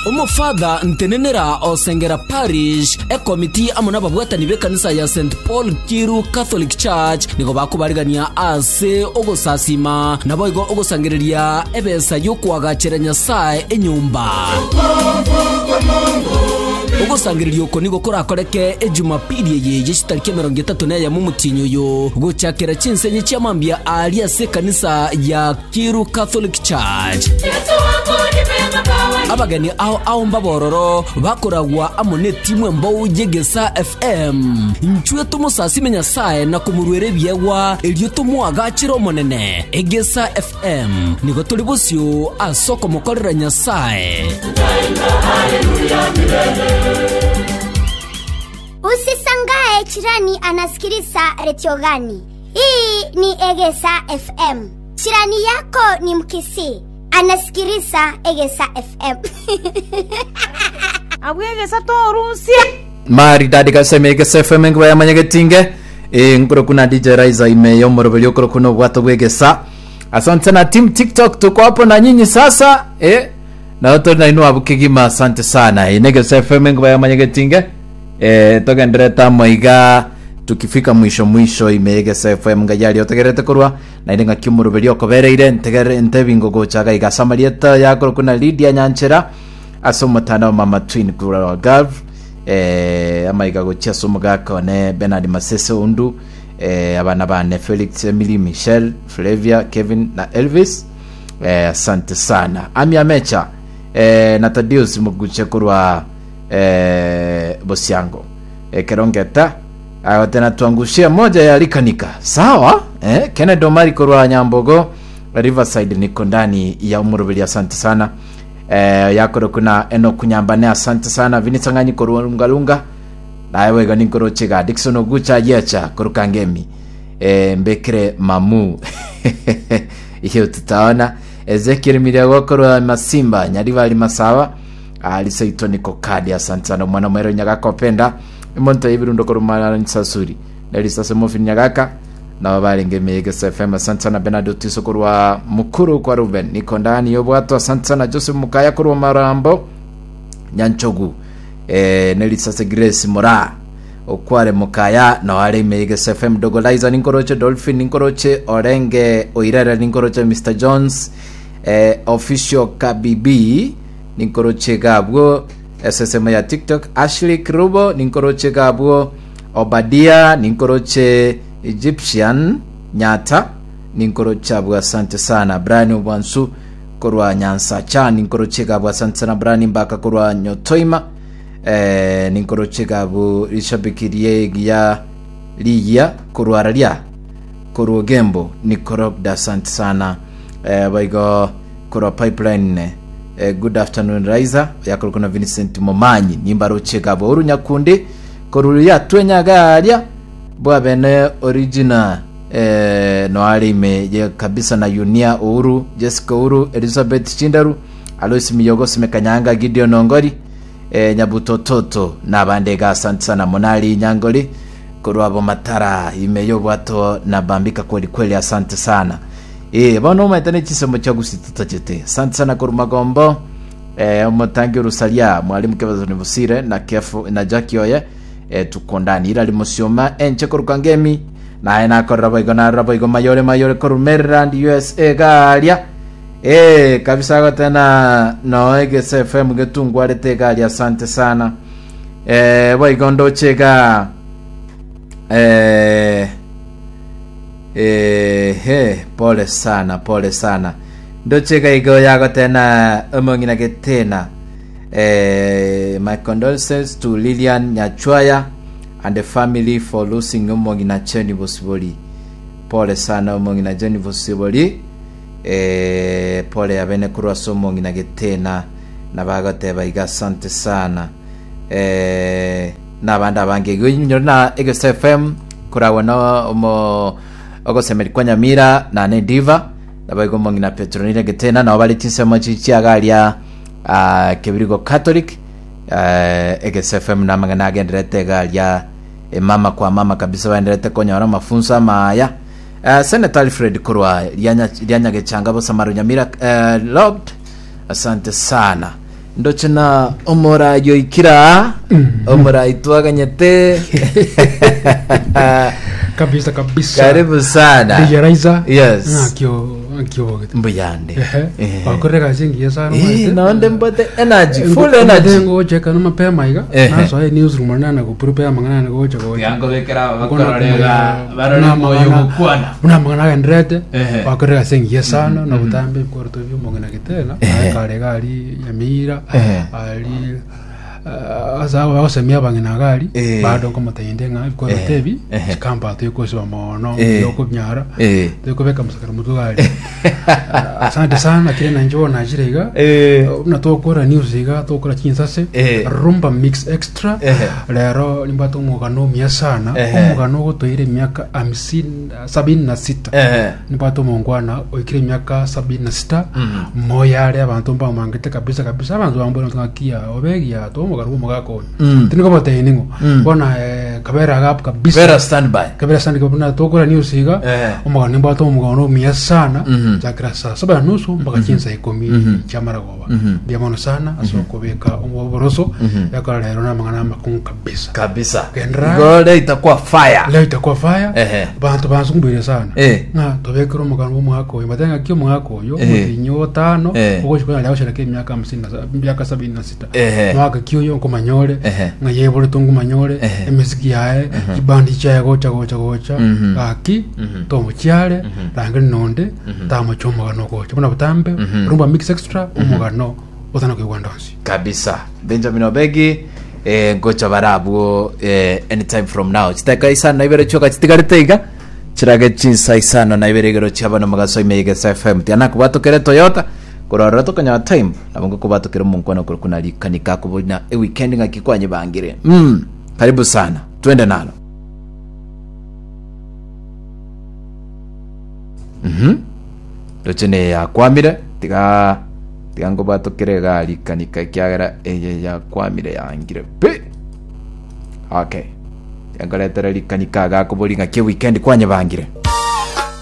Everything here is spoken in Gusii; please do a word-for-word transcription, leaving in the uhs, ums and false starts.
Omofadha ntenenera osengera parish ekomiti amo n'ababwatani b'ekanisa ya Saint Paul Kiru Catholic Church nigo bakobarigania ase ogosasima naboigo ogosangereria ebesa y'okwagachera Nyasaye enyomba. Ogosangereria oko nigo korakoreke ejumapili eye yechitariki emerongo etato na eyemo omotienyi oyo gochakera chinsenye chiamambia ari ase ekanisa ya Kiru Catholic Church. Abageni ao ao mbabororo bakoragwa amo n'etimu embou y'Egesa F M. Nchwe tomosasime Nyasaye na komorwera ebiegwa erio tomwagachire omonene. Egesa F M nigo tori bosio ase okomokorera Nyasaye. Usishangae jirani anasikiliza redio gani. Hii ni Egesa F M. Jirani yako ni Mkisii, anasikiliza Egesa F M. Abwegesa torusia. Maridadi kaseme Egesa F M ngiba yamanyegetinge e nkoro kuna D J Raiza ime yomorobeli okoro kuna obwato bwegesa. Asante sana team TikTok, tuko hapo na nyinyi sasa, eh na to na inu abukigima. Asante sana. E Negesa F M ngiba yamanyegetinge, eh togendereta moiga tukifika mwisho mwisho ime Egesa F M ngayari otegerete korwa na ire ng'aki omoroberi okobereire ntegere ntebingo gochaga iga samarieta yakoro kuna Lydia Nyanchera ase omotandao Mama Twin Kura Gav, eh, amaiga gochia ase omogaka one Bernard Masese Undu, eh, abana bane Felix, Emily, Michelle, Flavia, Kevin na Elvis, eh, asante sana. Ami Amecha, eh, na Tadius Muguche korwa eh, Bosiango, eh, Kerongeta agotena tuangushia moja ya likanika sawa. eh, Kennedy Omari korwa Nyambogo Riverside, niko ndani ya umurubiri, asante sana. eh, yakoro kuna eno kunyambane, asante sana. Vinisang'anyi korwa Lungalunga naye wega ninkorochega. Dikson Ogucha yecha korukangemi, eh, mbekere mamu iyo tutaona. Ezekiel Miriago korwa Masimba Nyaribali Masawa alisaito niko kadi, asante sana. Mwana mwero Nyagaka openda imonto ibirundo korumara nsasuri nelisase mofi Nyagaka nabo barenge Megesa F M, asante sana. Bernard Otiso korwa Mukuru kwa Ruben, niko ndani yobwato, asante sana. Joseph Mukaya korwa Marambo Nyanchogu, eh, nelisase Grace Mora okware Mukaya no are Megesa F M. Dogoliza ninkoroche, Dolphin ninkoroche, Orenge Oirere ninkoroche, Mister Jones, eh, Official Kabibi ninkoroche gabwo S S M ya TikTok, Ashley Krubo ninkoroche gabwo, Obadia ninkoroche, Egyptian Nyata ninkoroche abwo, asante sana. Brian Obwansu korwa Nyansacha ninkoroche gabwo, asante sana. Brian Mbaka korwa Nyotoima, eh, ninkoroche gabwo. Rishabikirie giya liya korwa raria korwa Gembo nikorobda, asante sana. eh, baigo korwa Pipeline, eh, good afternoon Raiza yakorokona Vincent Momanyi nimbaroche gabwo. Orunyakundi koruria twenyaga bwabene original, eh, no arime ye kabisa na Yunia Uhuru, Jessica Uhuru, Elizabeth Chindaru, Alois Miyogo, Simekanyanga, Gideon Ongori, eh, Nyabutototo n'abande ga, asante sana. Monali Nyangoli korwa abo matara ime yobwato na bambika kweli kweli, asante sana. eh bono maita ne chisomo cha gusituta chete, asante sana. Korwa Magombo, eh, omotangi Rusalia, mwalimu Kebazo Busire na Kefu na Jackie oye, eh, tuko ndani ira limosioma enche koruka ngemi naye nakorera boigo narora boigo mayore mayore koru Maryland U S A garia, eh kabisa gotena no Egesa F M getungwarete garia, asante sana. eh boigo ndochega, eh eh he pole sana, pole sana. Ndochega igo yagotena omong'ina getena, eh, my condolences to Lilian Nyachwaya and the family for losing omong'ina Jenny Bosibori. Pole sana omong'ina Jenny Bosibori, eh, pole abene korwa ase omong'ina getena nabagoteba iga, asante sana. eh, n'abandi abange igo inyore na Egesa F M koragwa no omo ogosemeri kwa Nyamira na ne diva nabaigo omong'ina Petronile getena nabo bari chinsemo chichiagaria uh, Kebirigo Catholic. uh, Egesa F M namang'ana agenderete egaria emama kwa mama kabisa baenderete konyora mafunzo amaya. uh, Senator Alfred korwa Rianya- Rianyagechanga Bosamaro Nyamira, uh, logged, asante sana. Ndoche na omorai oikira omorai twaganyete. Kabisa kabisa. Karibu sana. D J Raiza. Yes. Ng'akio ng'akio bogete. Mbuyande. Ehe. Eh. Wakorera kazi ngiya sana. Eh, naonde mbote energy, full energy. Ngo cheka no mapema iga. Ehe. Naso e newsroom na na kuprepare mangana na gocha gocha. Yangobekera Kona bakororega barore na moyo mang'ana- gukwana. Buna mangana agenderete. Ehe. Wakorera kazi ngiya sana na butambe bikoroto by'omong'ina gitena. Ehe. Kare gari Nyamira. Ehe. Ali asa bagosemia abang'ina gari Eh. bado nkomotende ng'a bikoroto Ehe. ebi Ehe. chikamba twikosiba mono Eh. yokunyara Eh. twikobeka musakara mutwe gari. Asante sana kire nanje najire iga. Eh. Buna twokora news iga twokora chinsase Eh. rumba mix extra. Ehe. Lero nimbata omugano omuya sana. Ehe. Omugano ogotoire emiaka hamsini sabini na sita. Ehe. Nimbata omongwana oikire emiaka sabini na sita. Moyare abanto mbamangete kabisa kabisa abanto bambona ng'akia obegia twomogaro omogaka oyo. Mm. Tinikobatei ning'o. Mm. Bona eh, kabera gapu kabisa. Vera standby. Kabera sana kabuna twokora news iga. Eh. Omugano nimbata omugano omuya sana. Mhm. Chakira saa saba na nusu mpaka chinsa ikumi Mhm. chiamaragoba. Mhm. Mbuya mono sana ase okobeka omoboroso. Mhm. Yakora lero namang'ana amakungu kabisa. Kabisa. Gendera. Gole itakuwa fire. Leo itakuwa fire. Ehe. Bantu bansumbwire sana. Eh. Ng'a tobekere omogano bw'omwaka oyo matenga ki omwaka oyo Eh. omotinyi otano Eh. ogochikona leo shereka emiaka hamsini na sa- emiaka sabini na sita. Ehe. Mwaka ki oyo nkomanyore. Ehe. Ng'a yeborete nkomanyore. Ehe. Emisiki yaye chibandi chiaye gocha gocha gocha. Mhm. Gaki tomochiare rangeri nonde tamocha omogano gocha buna butambe rumba mix extra omogano otana kuigwa ndonsi. Kabisa. Benjamin Obegi eh, ngocha barabwo eh, anytime from now. Chitaka isano na ibere chioka chitigarete iga chirage chinsa isano na ibere igero chiabana magaso ime Egesa F M. Tiana kubatokere Toyota kurora tokanya time nabongo kubatokere munkwana kuri kuna likanika kubona e weekend ngaki kwanye bangire. Mm, karibu sana. Twende nalo. Mhm. Dochene yakwamire tiga tiga ngobatokere gari kanika kiagera eye yakwamire yangire pe. Okay. Yangoretere likanika gakobori ngaki weekend kwanye bangire.